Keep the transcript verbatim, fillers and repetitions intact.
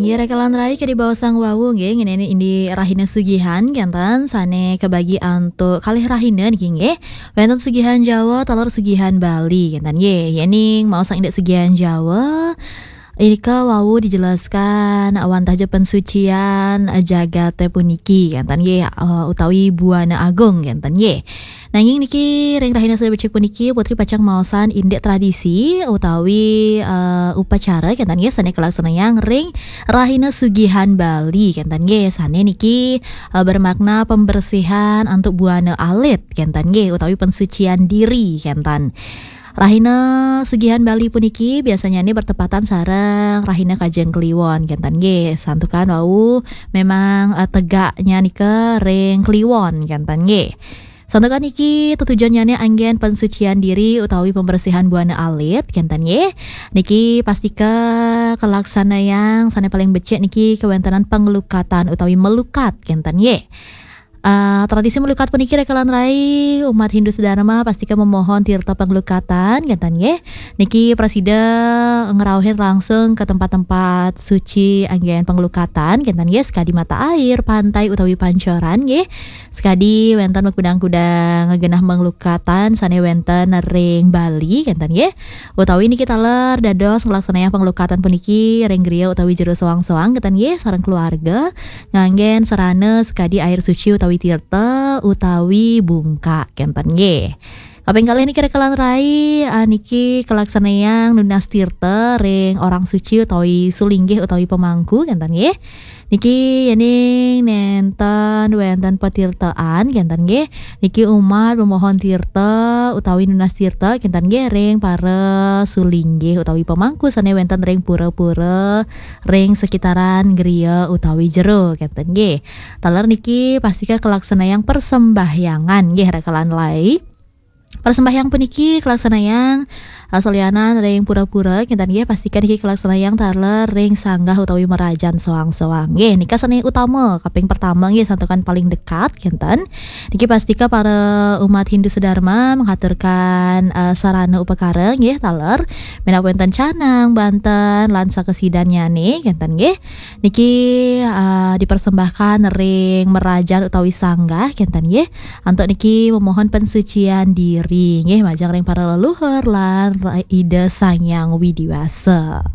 Nggih, rekan rai, kadi baosang wau nggih, ngenani indik rahina sugihan kenten, sane kabagi antuk kalih rahina niki nggih. Wenten sugihan Jawa, taler sugihan Bali kenten nggih. Yening maosang indik sugihan Jawa, inika wau dijelaskan wantah ja pensucian, eh, jagate puniki kenten nggih, eh, utawi buana agung kenten nggih. Nanging niki ring rahina sane becik puniki Putri pacang maosang indik tradisi utawi, eh, upacara kenten nggih sane kalaksanayang ring rahina sugihan Bali kenten nggih, sane niki, eh, bermakna pembersihan antuk buana alit kenten nggih, utawi pensucian diri kenten. Rahina sugihan Bali puniki biasanyane bertepatan sareng rahina Kajeng Kliwon kenten nggih. Santukan wau memang, eh, tegaknya nika ring Kliwon kenten nggih. Santukan niki tetujonnyane anggen pensucian diri utawi pembersihan buana alit kenten nggih. Niki pastika kalaksanayang sane paling becik niki kewentenan penglukatan utawi melukat kenten nggih. Ah, tradisi melukat puniki rekan rai umat Hindu sedharma pastika memohon tirta penglukatan kenten nggih. Niki prasida ngrauhin langsung ke tempat-tempat suci anggen penglukatan kenten nggih, sekadi mata air, pantai utawi pancoran nggih. Sekadi wenten makudang-kudang genah penglukatan sane wenten ring Bali kenten nggih. Utawi niki taler dados nglaksanayang penglukatan puniki ring griya utawi jero soang-soang kenten nggih, sareng keluarga. Nganggen sarana sekadi air suci utawi tirta utawi bungkak kenten nggih. Kaping kalih niki rekan rai, ah, niki kalaksanayang nunas tirta ring orang suci utawi sulinggih utawi pemangku kenten nggih. Niki yening nenten wenten patirtaan kenten nggih. Niki umat memohon tirta utawi nunas tirta kenten nggih ring para sulinggih utawi pemangku sane wenten ring pura-pura ring sekitaran griya utawi jero kenten nggih. Taler niki pastika kalaksanayang persembahyangan nggih rekan rai. Persembahyang puniki kalaksanayang, eh, salianan ring pura-pura kenten nggih, pastika niki kalaksanayang taler ring sanggah utawi merajan soang-soang. Nggih, nika sane utama kaping pertama nggih, santukan paling dekat kenten. Niki pastika para umat Hindu sedharma menghaturkan, eh, sarana upakara nggih taler menawi wenten canang, banten lan sakesidannyane kenten nggih. Niki, eh, dipersembahkan ring merajan utawi sanggah kenten nggih. Antuk niki memohon pensucian diri nggih majeng ring para leluhur lan Ida Sang Hyang Widi Wasa.